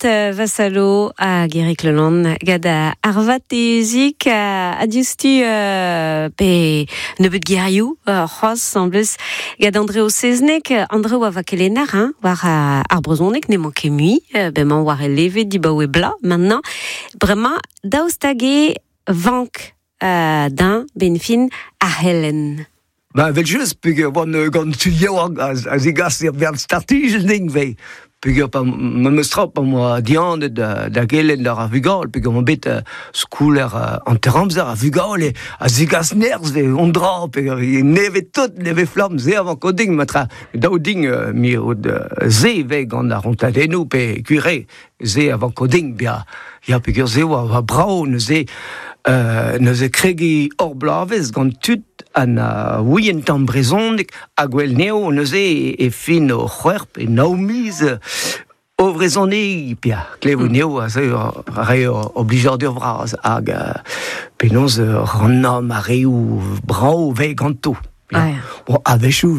Vassalo hag Eric Leland gant ar vatezik a diouzhtu pe nebeut gerioù c'hoazh en plus gant Andreo Seznec. Andreo a va kelenner hein, war ar brezhoneg n'emañ ket mui, bemañ war e leve dibaoe bla maintenant. Bremañ daoust hag e vank d'un ben fin ar c'helenn. Ba, vel just, peogwir oan gant tud yaouank a zegas er bern startijenn din vez. Peogwir pa memes tra pa 'moa dihanet da gelenn d'ar vugale, peogwir oan bet skouler hanter-amzer ar vugale a zegas nerzh vez on dra, peogwir nevez tout, nevez flamm, se a vanko din, matra dav din mirout se vez gant ar rontadennoù pe gwir eo, se a vanko din bezañ. Ya, peogwir se oa brav neuze neuze kregiñ hor bloavezh gant tud ha na ouient tamm brezhoneg ha gwell neo neuze e fin o c'hwec'h pe nav miz o vrezhonegiñ pia klevout neo a ze re o blijadur vras hag penaos rannañ mareoù brav vez ganto. Bon, a-wechoù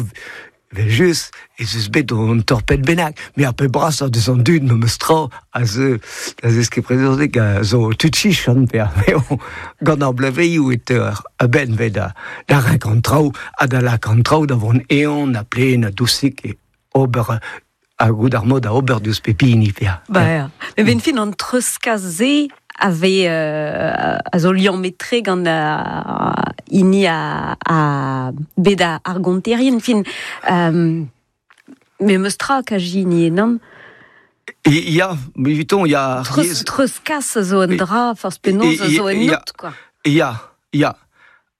Evel-just ez eus bet un torped bennak, met ar pep brasañ deus an dud memes tra a zeu da zeskiñ brezhoneg a zo tud chichant eo gant ar blevezioù e teuer a-benn vet da da renkañ an traoù ha da lakaat an traoù da vont eeun ha plaen ha dousik e ober ha goût ar mod da ober diouzh pep hini. Ba ya. Met benn fin an treuzkas-se a vez a zo liammet-tre gant hini a bet ar gonterien fin memes tra kajini ennan. Ya, eviton ya. Treuzkas a zo un dra, forzh penaos a zo ennout, quoi. Ya, ya.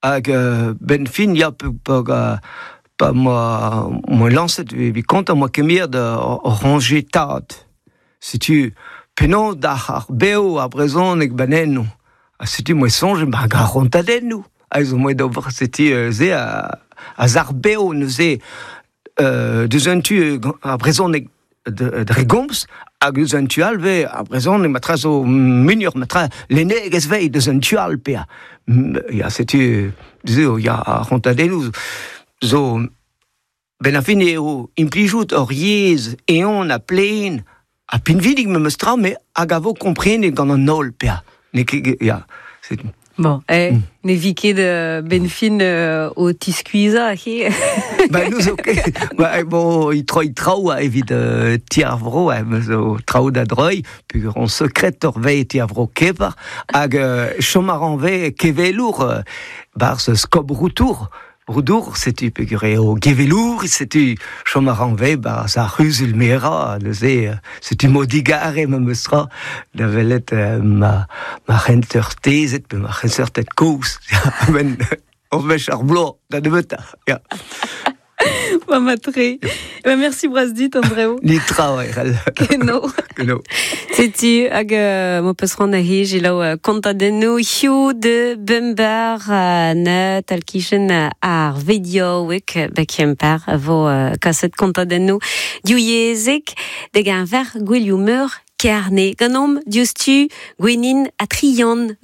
Hag benn fin, ya, pa 'moa lañset evit kontañ 'moa kemeret ur c'hoñje tad. Setu penaos dac'h ar bev ar brezhoneg 'ba 'n eno. Ha setu 'moa soñjet 'ba ar c'hontadennoù. Ha zo 'moa d'ober setu se a sac'h bev neuze deus un tu ar brezhoneg dre gomz hag eus un tu all vez ar brezhoneg matra zo muioc'h matra lennegezh vez deus un tu all pea ya setu zo ya ar c'hontadennoù zo benn ar fin eo implijout hor yezh eeun ha plaen ha pinvidik memes tra met hag a vo komprenet gant an holl pea n'eo ket ya setu Bon, eh, ne vi ket benn fin o tiskuizhañ he. Ba nous zo ket. Ba bon, i troi traoù evit ti ar vro, zo traoù da droi, peogwir on sekretor vez ti ar vro Kevar, hag chom a ran vez kevelour 'barzh Skob Routour. Roudour, setu peogwir eo gevelour, setu chom a ran vez 'barzh ar c'huzul merañ, neuze setu mo digare memes tra da welet ma ma c'henseurtezed pe ma c'henseurted kozh a-benn ur wech ar bloaz da nebeutañ. Ya. Ba matre. Ba merci bras dit, Andreo. Nitra, ouais. Keno. Keno. Setu hag m'ho peus c'hoant da hej elaou kontadennoù Hugh de Bumbar na tal-kichen ar vediaoueg ba Kemper a vo kaset kontadennoù divyezhek da geñver gouelioù meur Kerne. Ganeomp diouzhtu Gwenin ha Trian.